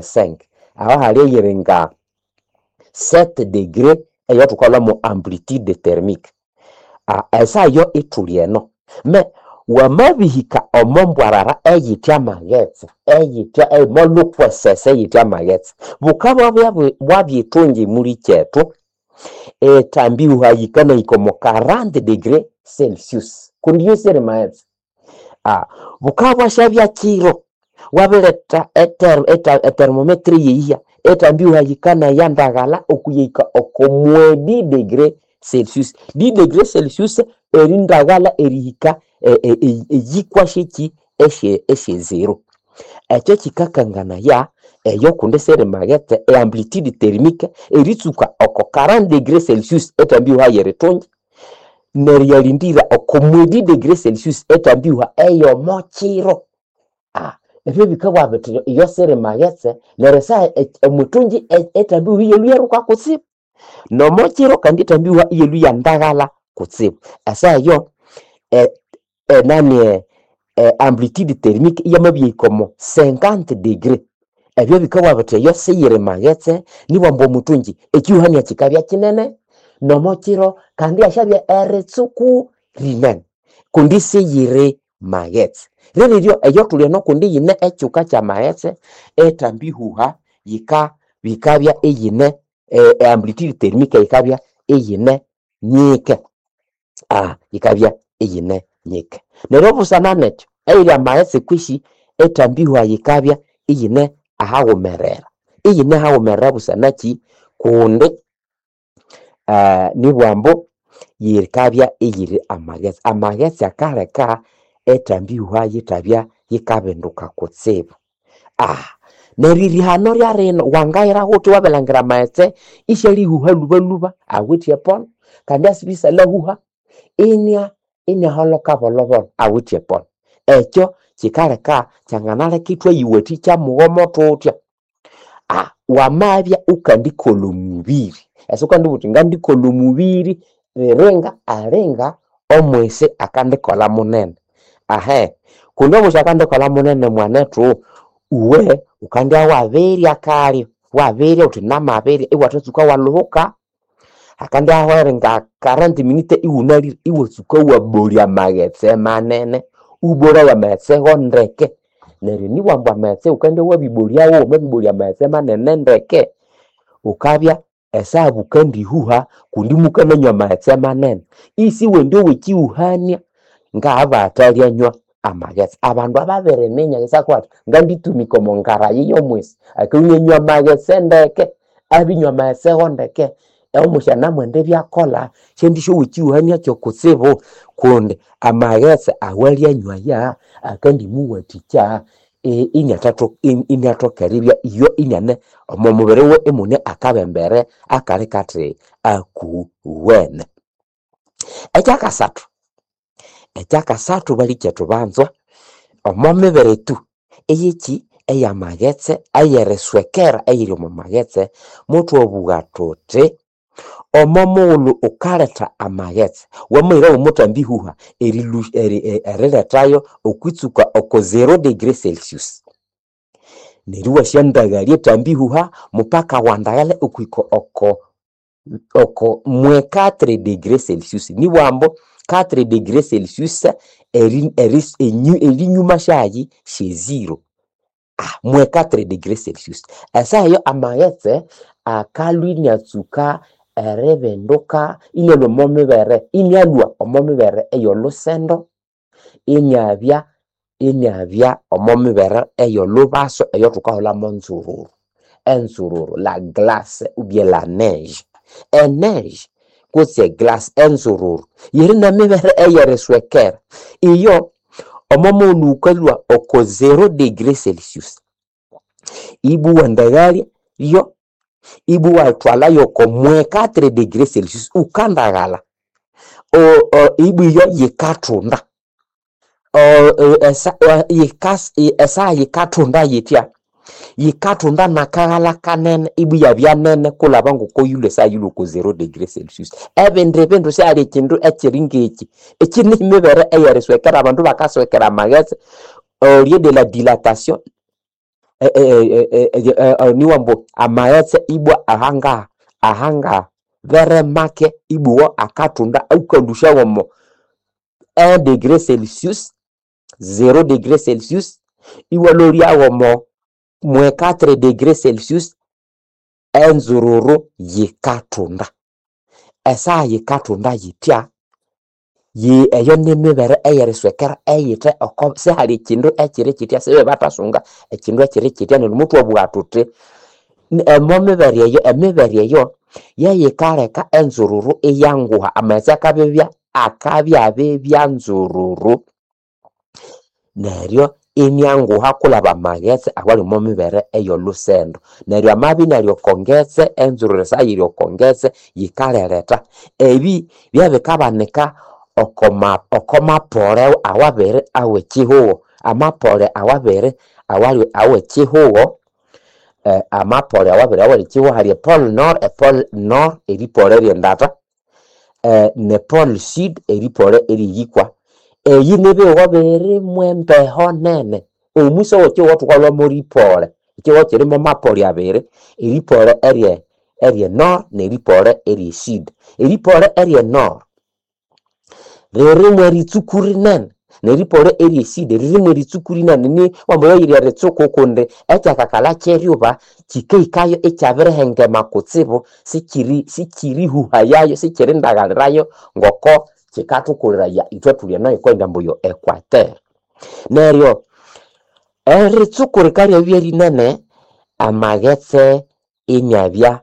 5 aho hali eyiri nga 7 degré eyathukalhwamo amplitude thermique. Esaa eyo ithuli eno me wamabihika omo mbwarara eyithe amaghetse eyithe omolhukwesese eyithe amaghetse bukabya bwabyithungi mulikyethu ethambi yikanahika omo 40 degré Celsius kundi iyo siri maghetse. Bukabya bwasyabya kiro wabiretha ethermometer eyeyiha ethambi yikanaya ndaghalha okuyahika oko mwedi degré Celsius. Di degré Celsius erindaghalha erihika eyikwa syeki esye zero. Ekyo kikakanganaya eyo kundi siri maghetse eamplitude thermique eritsuka oko 40 degré Celsius ethambi yeritungi neryo iyalindira oko mwedi degré Celsius ethambi eyomo kiro. Ebyo bikabugha bithi iyo siri maghetse neryo esaha omuthungi ethambi iyalhwa iyaruka kutsibu nomo kiro kandi ethambi iyalhwa iyandaghalha kutsibu. Esaha eyo enani amplitude thermique iyamabyahika omo 50 degré. Ebyo bikabugha bithi eyo siyiri maghetse nibwamba omuthungi ekihuhania kikabya kinene nomo kiro kandi ihasyabya eritsuku rinene kundi siyiri maghetse. Ryeriryo eyo thuli eno kundi yine ekyuka kyamaghetse ethambi ihuha yika bikabya iyine amplitude thermique yikabya iyine nyike. Yikabya iyine nyike. Neryo busana nekyo eyiri amaghetse kwisi ethambi ihuha yikabya iyine ahaghumerera. Iyine ahaghumerera busana kyi? Kundi nibwambu yikabya iyiri amaghetse. Amaghetse akaleka ethambi ihuha yithabya yikabinduka kutsibu. Neryo erihano lyarino wangayira ghuthi wabilhangira amaghetse isyalihuha lhubalhuba awithe epono kandi asibya isyalyahuha inya inyaholhoka bolhobolho awithe epono. Ekyo kyikaleka kyanganaleka ithwayiwathikya mughomo thuthya. Wamabya wukandikolha omubiri ese wukandibugha wuthi ngandikolha omubiri riringa alinga omwisi akandikolha munene. Kundi omwisi akandikolha munene mwanethu uwe wukandibya wabirya kalyo wabirya wuthi namabirya iwathatsuka walhuhuka hakandibya hahwere nga 40 minute iwunalire iwatsuka wabolya amaghetse manene iwabolaya amaghetse go ndeke neryo nibwamba amaghetse wukandibya wabibolyawo wamabibolya amaghetse manene ndeke wukabya esaha bukandihuha kundi mukananywa amaghetse manene isiwendi owekihuhania ngabathalyanywa amaghetse. Abandu ababiriminya isakwa athi nganditumika omo ngarayi yomwisi akalhwa inanywa amaghetse ndeke abinywa amaghetse go ndeke omwisi anamwenda ibyakolha syandisyowa ekihuhania kyokutsibu kundi amaghetse awalyanywaya akandimuwathikya iniathoka eribya iyo iniane omo mubiri wiwe imune akabembere akali kathi akuwene. Ekyakasathu, ekyakasathu balikyethu banzwa omo mibere ethu eyekyi eyamaghetse eyeriswekera eyiri omo maghetse muthwabugha thuthi omo mughulhu wukaletha amaghetse wamahira womuthambi ihuha erilethayo okwitsuka oko zero degree Celsius neryo iwasyandaghalya ethambi ihuha mupaka wandaghalya okwihika oko oko mwe 4 degree Celsius nibwambu 4 degree Celsius erinyuma syayi sye zero. Mwe 4 degree Celsius. Esaha eyo amaghetse akalhwa iniatsuka eribinduka inialhwa omo mibere inialhwa omo mibere ey'olhusendo iniabya iniabya omo mibere ey'olhubaso eyothukahulhamu nzururu. Enzururu la glace ou bien la neige. Eneige kutse eglace enzururu yiri nemibere eyeriswekera. Iyo omo mughulhu wukalhwa oko zero degree Celsius ibwa iwandaghalya yo ibwa iwathwalayo oko mwe 4 degree Celsius wukandaghalha ibwa iyo yikathunda esaha yikathunda yithya yikathunda nakaghalha kanene ibwa iyabya nene kulhaba ngoko yilhwe esaha yilhwe oko zero degree Celsius. Ebindi bindu sihali ekyindu ekyiri ngekyi ekyi nimibere eyeriswekera abandu bakaswekera amaghetse au lieu de la dilatation. niwambu amaghetse ibwa ahangaha ahangaha beremake ibwa akatunda aukalusha womo 1 degré Celsius 0 degré Celsius iwalolya womo mwe 4 degré Celsius enzururu yikatunda esaha yikatunda yitya eyo nimibere eyeriswekera eyithe oko sihali ekindu ekiri kitya sibebathasunga ekindu ekiri kitya neryo muthwabugha thuthi omo mibere eyo emibere eyo yeyikaleka enzururu iyanguha amaghetse akabibya akabyabibya nzururu neryo inyanguha kulaba amaghetse awali omo mibere ey'olusendo neryo amabya inali oko ngetse enzururu esaha yiri oko ngetse yikaleretha ebi byabikabanika oko mapole awabiri aw'ekihugho amapole awabiri awali aw'ekihugho amapole awabiri aw'ekihugho hali epole nord epole nord eripole ery'endata ne pole sud eripole eriyikwa eyi nibihugho birimu embeho nene omwisi ow'ekihugho thukalhwamo ripole ekihugho kirimo mapole abiri eripole erye erye nord neripole erye sud eripole erye nord ririmu eritsuku rinene neripole erye sud ririmu eritsuku rinene ni wambaghayire eritsuku kundi ekyakakalha kyeryuba kikahikayo ikyabirihengema kutsibu sikiri sikirihuhayayo sikirindagalirayo ngoko kikathukuliraya ithwe thuli eno yikwenda ambu equateur neryo eritsuku rikaryabya rinene amaghetse inabya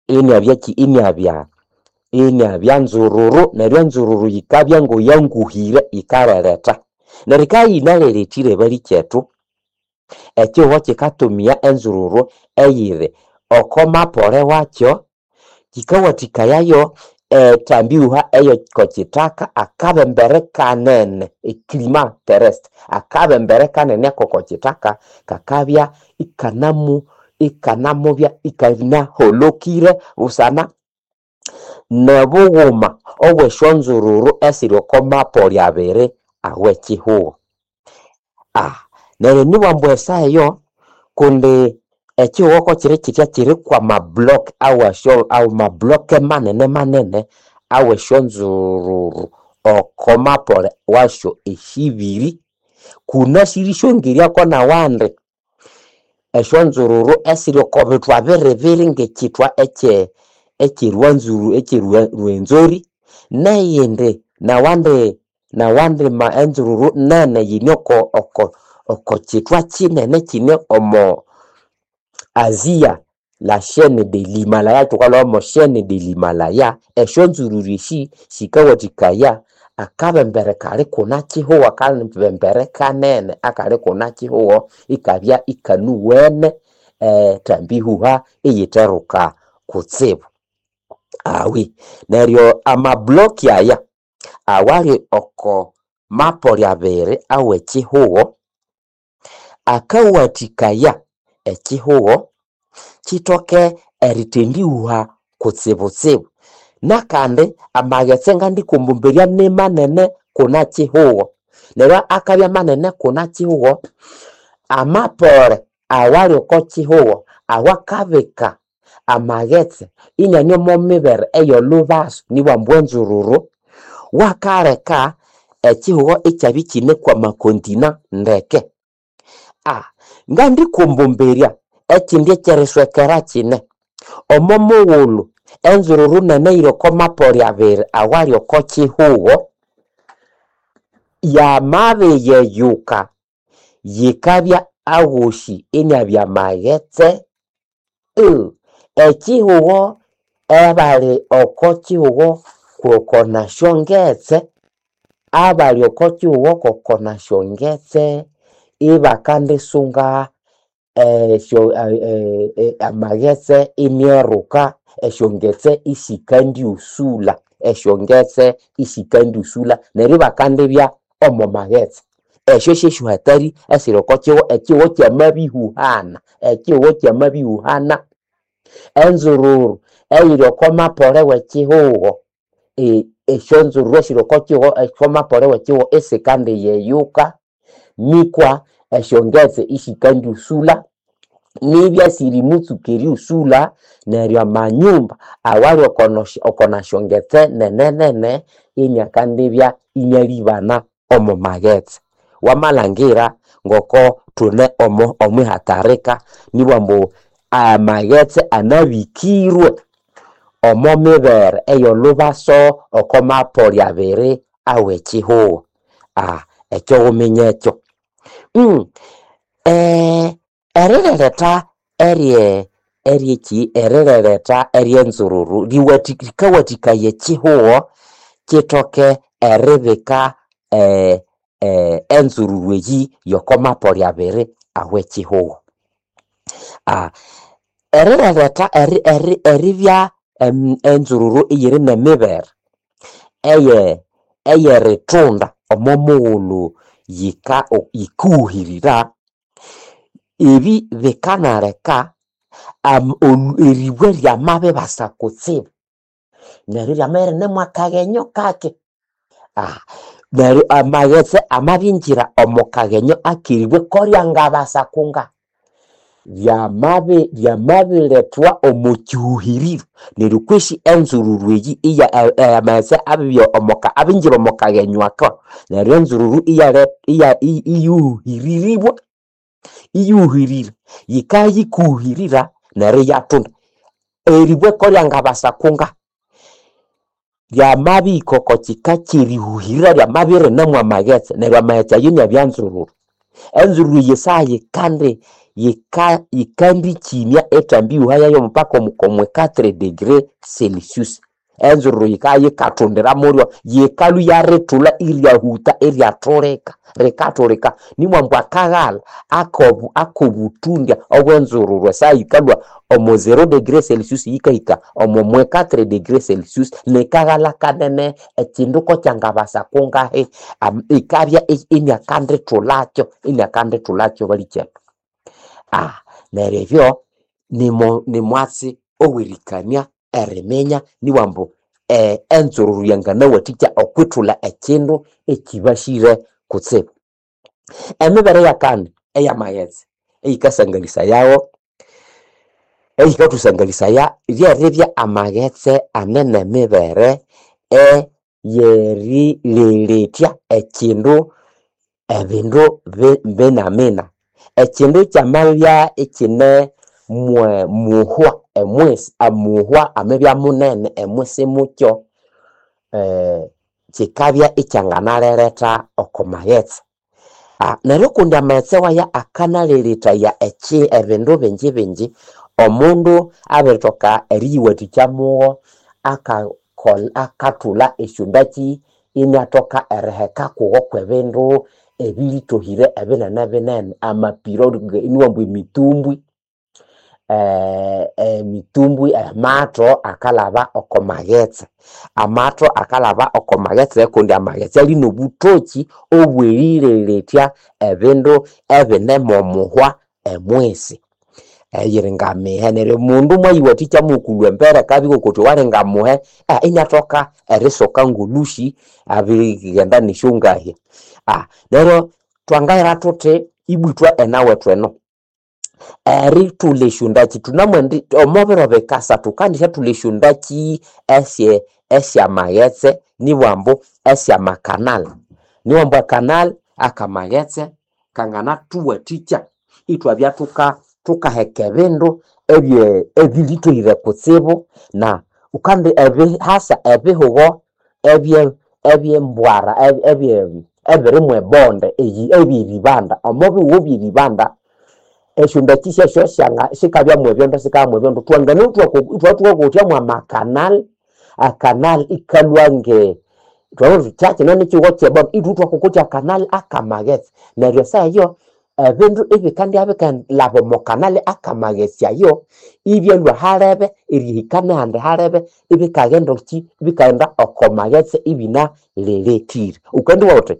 inabyaki inabya inabya nzururu neryo enzururu yikabya ngoyanguhire yikaleretha neryo yikabya yinalelethire balikethu ekihugho kikatumia enzururu eyiri oko mapole wakyo kikawathikayayo ethambihuha ey'okokithaka akabembere kanene eclima terrestre akabembere kanene ak'okokithaka kakabya ikanamu ikanamubya ikanaholokire busana n'obughuma obw'esyonzururu esiri oko mapoli abiri aw'ekihugho neryo nibwambu esaha eyo kundi ekihugho kokiri kitya kiri kwamablock awasyo amablock manene manene aw'esyonzururu oko mapole wasyo esibiri kunasiri syongeryako n'awandi esyonzururu esiri oko bithwa biribiri ng'ekithwa ekye ekyerwanzuru ekyerwenzori neyindi nawandi nawandi ma enzururu nene yine oko oko oko kithwa kinene kine omo Asia la chaîne de l'Himalaya thukalhwamo chaîne de l'Himalaya esyonzururu esi sikawathikaya akabembere kali kuna kihugho akabembere kanene akali kuna kihugho ikabya ikanuwene ethambihuha iyitheruka kutsibu awi neryo amablock aya awali oko mapoli abiri aw'ekihugho akawathikaya ekihugho kithoke erithendihuha kutsibutsibu nakandi amaghetse ngandikumbumberya nimanene kuna kihugho neryo akabya manene kuna kihugho amapole awali oko kihugho awakabika amaghetse inani omo mibere ey'olhubaso nibwambu enzururu wakaleka ekihugho ikyabya ikine kwamakontina ndeke ngandikumbumbirya ekindi ekyeriswekera kine omo mughulhu enzururu nene eyiri oko mapoli abiri awali oko kihugho yamabiyeyuka yikabya aghosi inabya maghetse ekihugho abali oko kihugho koko nasyongetse abali oko kihugho koko nasyongetse ibakandisunga esyo amaghetse inyeruka esyongetse isikandyusulha esyongetse isikandyusulha neryo ibakandibya omo maghetse esyo syesyohatari esiri oko kihugho ekihugho kyamabihuhana ekihugho kyamabihuhana enzururu eyiri oko mapole w'ekihugho esyonzururu esiri oko kihugho oko mapole w'ekihugho isikandiyeyuka nikwa Esyongetse isikandyusula nibya sirimutsuka erighusula, neryo amanyumba awali oko nasyongetse nene nene iniakandibya inialibana omo maghetse. Wamalhangira ngoko thune omo omwihatarika nibugha ambu amaghetse anabikirwe omo mibere ey'olubaso oko mapoli abiri aw'ekihugho. Ekyo ghuminye ekyo. Erireretha eryeki erireretha ery'enzururu rikawathikaya ekihugho kithoke eribika enzururu eyi y'oko mapoli abiri aw'ekihugho. Erireretha eribya enzururu iyiri n'emibere ey'erithunda omo mughulhu yikaghuhirira, ebi bikanaleka eribwe ryamabibasa kutsibu, neryo iryamabya irine mwakaghenyo kake. Neryo amaghetse amabingira omo kaghenyo ak'eribwe koryangabasa kunga, ryamabilethwa omo kihuhiriro, neryo kwesi enzururu eyi amaghetse abibya abingira omo kaghenyo ako, neryo enzururu iyuhiriribwa, iyuhirira, yikayikuhirira neryo iyathunda. Eribwe koryangabasa kunga, ryamabihika oko kika ky'erihuhirira ryamabya irine mwamaghetse, neryo amaghetse ayo inabya nzururu. Enzururu eyi esaha yikandi yikandikimya ethambi ihuha yayo mpaka omo 4 degree Celsius. Enzururu yikabya yikathundira mulyo, yikalhwa iyarithulha iryahuta iryathulika, rikathulika nibugha ambu akaghalha ak'obuthundya obw'enzururu esaha yikalhwa omo 0 degree Celsius yikahika omo 4 degree Celsius nikaghalha kanene ekindu kokyangabasa kungahi, ikabya iniakandithulhakyo, iniakandithulhakyo balikyethu. Neryo ebyo nimwatsi ow'erikania eriminya nibugha ambu enzururu yanganawathikya okwithulha ekindu ekibasire kutsibu. Emibere eyakani ey'amaghetse eyikasangalisayawo, eyikathusangalisaya ryeribya amaghetse ane n'emibere ey'erilelethya ekindu ebindu binamina. Ekindu kyamabya ikine muhwa emwisi, amuhwa amabya munene emwisi mukyo, kikabya ikyanganareretha oko maghetse. Neryo kundi amaghetse waya akanalelethaya ebindu bingi bingi, omundu abirithoka eriyiwathikya mugho akathulha esyondakyi iniathoka eriheka kugo kw'ebindu ebilithohire ebinene binene, amapiro inibugha ambu emitumbwi, emitumbwi, amatho akalhaba oko maghetse. Amatho akalhaba oko maghetse kundi amaghetse ali n'obuthoki obw'erilelethya ebindu ebine mw'omuhwa emwisi, eyiri ngamihe. Neryo omundu mwayiwathikya mughuma embere akabya ng'okuthi walinga muhe, iniathoka erisoka ng'olhusi abirighenda n'esyongahi. Neryo twangahera thuthi ibwa ithwe enawethu eno, erithulha esyondakyi thunamwendi omo biro bikasa thukandisyathulha esyondakyi esyamaghetse nibugha ambu esyamakanali. Nibugha ambu ekanali akamaghetse kanganathuwathikya ithwabya thukaheka ebindu ebilithohire kutsibu na ghukandi hasa ebihugho ebyembwara ebiri mw'ebonde eby'eribanda. Omo bihugho by'eribanda esyondakyi syasyo sikabya mw'ebyondo sikabya mw'ebyondo twangana ithwabya thukakotya mw'amakanali, akanali ikalhwa nge thwabugha thuthi kyakino nikihugho ky'ebonde ithwe ithwakokotya akanali akamaghetse. Neryo esaha eyo ebindu ibikandibya bikalhaba omo kanali akamaghetse ayo ibyalhwa halebe erihika n'ahandi halebe ibikaghenda ki ibikaghenda oko maghetse ibinalelethire. Ghukandibugha ghuthi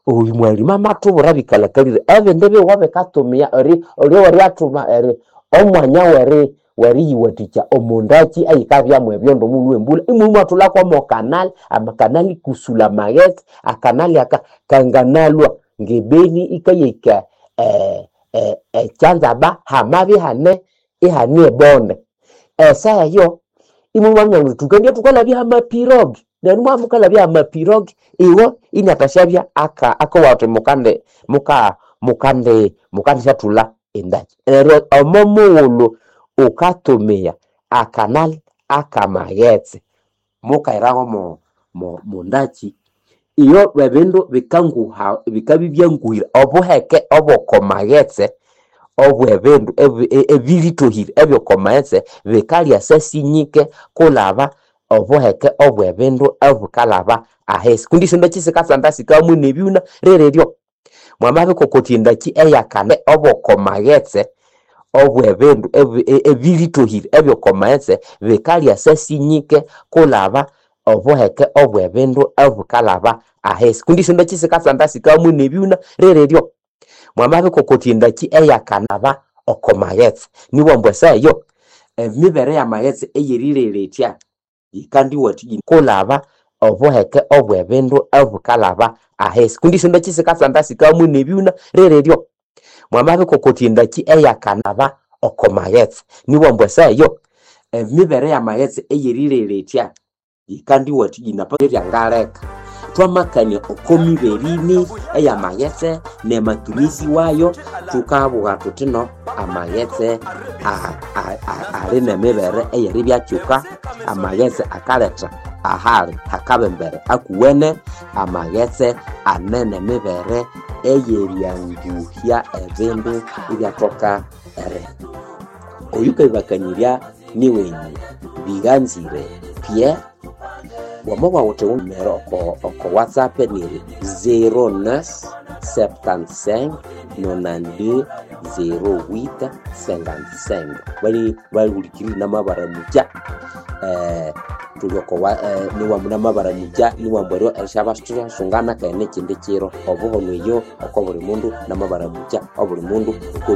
oyu mwalimu amathubwira ebikalhakalire ebindi bihugho bikatumiya oryawariathuma omwanya weriyiwathikya omo ndakyi eyikabya mw'ebyondo omughulhu w'embulha imulhwa imwathulha kw'omo kanali, amakanali kusula amaghetse, akanali aka kanganalhwa. ngebeni ikayeka ekyanzaba hamabya ihane ihane ebonde. Esaha eyo imwamanya muthi thukendibya thukalabya hamapirogi neryo mwabya mukalabya hamapirogi iwe iniathasyabya akawa athi mukandi muka mukandi mukandisyathulha endaki. Neryo omo mughulhu ghukatumia akanali akamaghetse mukahiraho mundaki iyo ebindu bikanguha bikabya ibyanguhire obuheke obw'okomaghetse obw'ebindu ebiritohire eby'okomaghetse bikalya syasinyike kulaba obuheke obw'ebindu obukalaba ahisi kundi esyondaki sikatsanda sikamu nebyuna rireryo. Mwamabikokotya endaki eyakane obw'okomaghetse obw'ebindu ebiritohire eby'okomaghetse bikalya syasinyike kulaba obuheke obw'ebindu obukalaba ahisi kundi esyondaki sikatsanda sikamu nebyuna rireryo. Mwamabikokotya endaki eyakanaba okomaghetse nibwambu esaha eyo emibere y'amaghetse eyerireretya yikandiwathikya kulaba obuheke obw'ebindu obukalaba ahisi kundi esyondaki sikatsanda sikamu nebyuna rireryo. Mwamabikokotya endaki eyakanaba okomaghetse nibwambu esaha eyo emibere y'amaghetse eyerireretya yikandiwathikya ryangaleka. Thwamakania oko miberini ey'amaghetse n'amatumizi wayo thukabugha thuthi no amaghetse ali n'emibere ey'eribyakyuka, amaghetse akaletha ahali hakabembere akuwene, amaghetse ane n'emibere ey'eryanguhya ebindu ibyathoka eri. Oyukabibakanyirya niwenyu Biganzire Pierre, wamabugha wuthi wumere oko WhatsApp niri 09 75 92 08 55. Bali bahulikirire namabaramukya thuli oko namabaramukya niwamba eryo erisyabathasungana keghe n'ekindi kiro. Obuhono eyo oko buli mundu namabaramukya obuli mundu.